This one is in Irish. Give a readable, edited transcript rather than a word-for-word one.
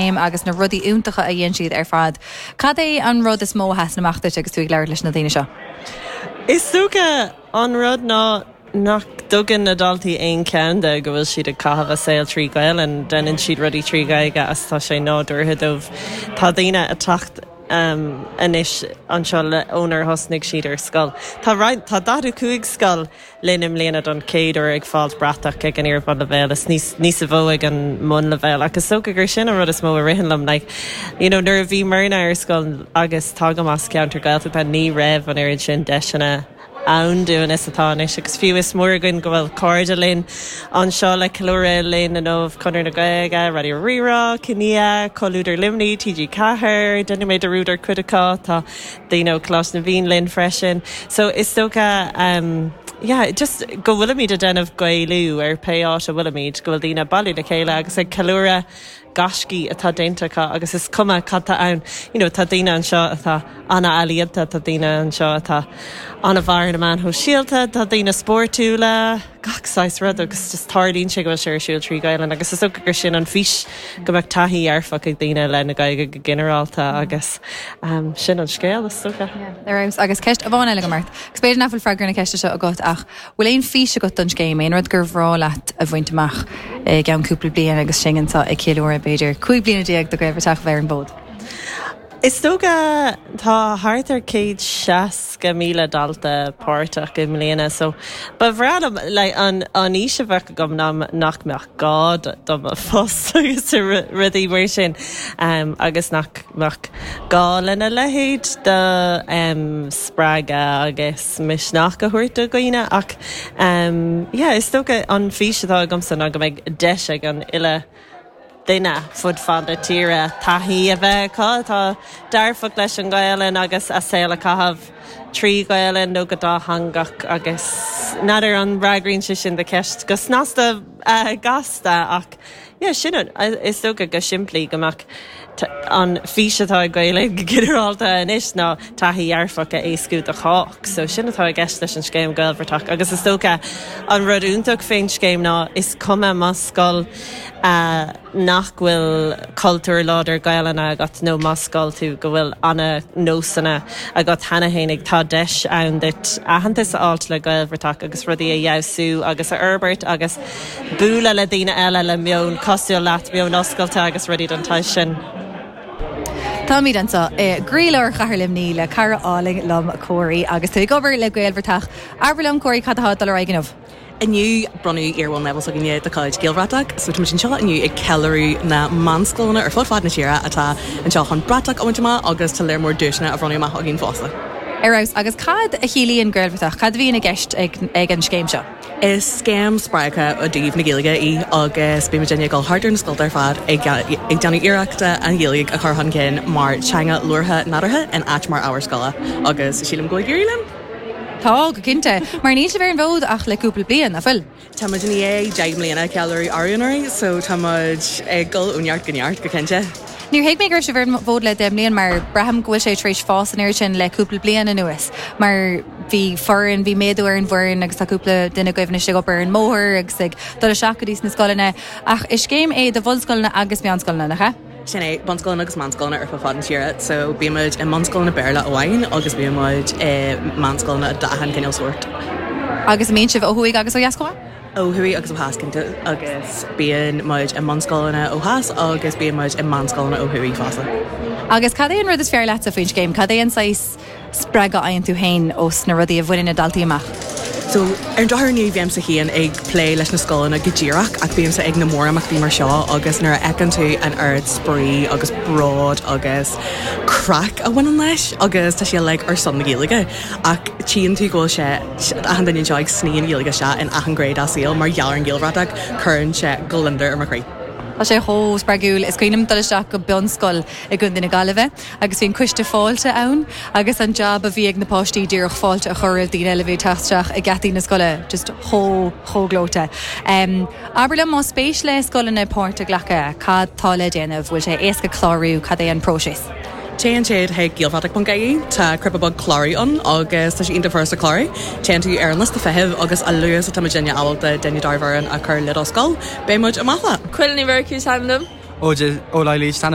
Agus na rudaí iontacha a dhéan siad ar fad. Cad é an rud is mó a sheasann amach duit agus tú ag labhairt leis na daoine seo? Is dócha an rud ná nach dtugann na daltaí aon cheann de go bhfuil siad ag caitheamh a saol trí Ghaelainn. Déanann siad rudaí trí Ghaeilge agus tá sé nádúrtha dóibh. Tá daoine ag teacht anois anseo ónar thosnaigh siad ar scoil. Tá roinnt, tá 45 scoil linn i mbliana don chéad uair ag fáilt bratach ag an iar-bhunleibhéal is níos níos mó ag an mbunleibhéal ach is dócha gur sin an rud is mó a ritheann liom like you know nuair a bhí muidne ar scoil agus tagaim as ceantar Gaeltachta ní raibh an oiread sin deiseanna ann dúinn is atá anois agus fiú is mór againn go bhfuil cairde linn anseo le ceiliúradh linn inniu, Conradh na Gaeilge, Raidió Rí-Rá, Kinia, Comhluadar Luimnigh, TG4, déanfaidh mé dearúd ar cuid acu, tá daoine ó Coláiste na bhFiann linn freisin. So is dócha um yeah just go bhfuilimid ag déanamh Gaelú ar pé áit a bhfuilimid, go bhfuil daoine ag bailiú le chéile agus ag ceiliúradh gaiscí atá déanta acu agus is cuma cad tá ann. You know tá daoine anseo atá ana-ealaíonta, tá daoine anseo atá ana-mhaith ar na meáin shóisialta, tá daoine spórtúla, gach saghas rud agus just tarlaíonn sé go bhfuil sé ar siúl trí Ghaelainn agus is dócha gur sin an fís go mbeadh taithí dhearfach ag daoine le na Gaeilge go ginearálta agus sin an scéal is dócha. Ar fheabhas. Agus ceist amháin eile agam ort, agus b'fhéidir nach bhfuil freagra na ceiste seo agat ach bhfuil aon fís agat don scéim, aon rud gur bhreá leat a bhaint amach i gceann cúpla bliain agus sinn anseo ag ceiliúradh b'fhéidir 15 bliana de Ghaelbhratach a bheith ar an bhfód? Is dócha, tá thart ar 160,000 dalta páirteach i mbliana so ba bhreá liom like an an fhís a bheadh agam ná nach mbeadh gá do mo phost agus rudaí mar sin agus nach mbeadh gá lena leithéid de spreagadh agus misneach a thabhairt do dhaoine ach yeah is dócha an fís atá agamsa ná go mbeidh deis ag an uile duine fud fad na tíre taithí a bheith acu atá dearfach leis an nGaelainn agus a saol a chaitheamh trí Ghaelainn nó go dátheangach agus n'fheadar an bhfreagraíonn sé sin do cheist go snasta gasta ach yeah sin an is dócha go simplí go mbeadh an fís atá ag Gael Linn go ginearálta anois ná taithí dhearfach a éascú do chách so sin atá i gceist leis an scéim Gaelbhratach agus is dócha an rud iontach fén scéim ná is cuma más scoil nach bhfuil cultúr láidir Gaelainne agat nó más scoil tú go bhfuil ana-nósanna agat cheana fhéinig, tá deis ann duit aitheantas a fháilt le Gaelbhratach agus rudaí a fheabhsú agus a fhorbairt agus bualadh le daoine eile le meon cosúil leat, meon oscailte agus rudaí den tsaghas sin. Táimid anseo i gcroílár Chathair Luimnigh le cara álainn liom, Córaí, agus tú ag obair le Gaelbhratach. Abair liom, Córaí, cad atá ag dul ar aghaidh inniu? Inniu, bronnadh iar-bhunleibhéal s'againne de chuid Gaelbhratach, so tá muid anseo inniu ag ceiliúradh na meánscoileanna ar fud fad na tíre atá anseo chun bratach a bhaint amach agus tá léar mór duaiseanna á bhronnadh amach againn fosta. Ar fheabhas. Agus cad a chiallaíonn Gaelbhratach? Cad a bhíonn i gceist ag an scéim seo? Is scéim spreagtha i dtaobh na Gaeilge í agus bíonn muidinne ag dul thart ar na scolta ar fad ag déanamh iarrachta an Ghaeilge a chur chun cinn mar teanga labhartha nádúrtha in áit mar ábhar scoile agus sílim go bhfuil ag éirí linn. Tá, go cinnte. Mar níl sibh ar an bhfód ach le cúpla bliain, nach bhfuil? Tá muid i ndiaidh 10 mbliana a cheiliúradh arú anuraidh so tá muid ag dul ó neart go neart, go cinnte. Níor thuig mé go raibh sibh ar an bhfód le 10 mbliain mar braithim go bhfuil sé tar éis fás an oiread sin le cúpla bliain anuas mar bhí foireann, bhí méadú ar an bhfoireann agus tá cúpla duine agaibh anois ag obair ar an mbóthar agus ag dul isteach go dtí sna scoileanna ach is scéim é do bhunscoileanna agus meánscoileanna, nach ea? Sin é, bunscoileanna agus meánscoileanna ar fud fad na tíre. So bíonn muid i mbunscoileanna Béarla amháin agus bíonn muid i meánscoileanna d'achan cineál sórt. Agus an mbíonn sibh ó thuaidh agus ó dheas chomh maith? Ó thuaidh agus ó theas cinnte agus bíonn muid i mbunscoileanna ó theas agus bíonn muid i meánscoileanna ó thuaidh fosta. Agus cad é an rud is fearr leatsa faoin scéim? Cad é an saghas spreagadh a fhaigheann tú féin ós na rudaí a bhaineann na daltaí amach? So, ar an drochuair ní bhímse féin ag plé leis na scoileanna go díreach ach bímse ag na mórimeachtaí mar seo agus nuair a fheiceann tú an oiread spraoi agus bród agus craic a bhaineann leis agus tá sé uilig ar son na Gaeilge ach tchíonn tú go bhfuil sé, achan duine anseo ag sní an Ghaeilge isteach in achan ghné dá saol mar gheall ar an Ghaelbhratach, cuireann sé gliondar ar mo chroí. Tá sé chomh spreagúil. Is cuimhin liom dul isteach go bunscoil i gContae na Gaillimhe agus bhí an coiste fáilte ann agus an jab a bhí ag na páistí díreach fáilte a chur roimh daoine eile a bhí ag teacht isteach ag geataí na scoile just chomh chomh gleoite. Abair liom más spéis le scoileanna páirt a ghlacadh, cad tá le déanamh, bhfuil sé éasca clárú, cad é an próiseas? Téann siad chuig gaelbhratach.ie, tá cnaipe beag clárú ann agus tá sé iontach furasta clárú. Téann tú ar an liosta feithimh agus a luaithe is atá muidinne ábalta duine dár bhfoireann a chur le do scoil, beidh muid amach leat. Cuileann Ní Mhurchú is ainm dom. Ó Laighléis is ainm.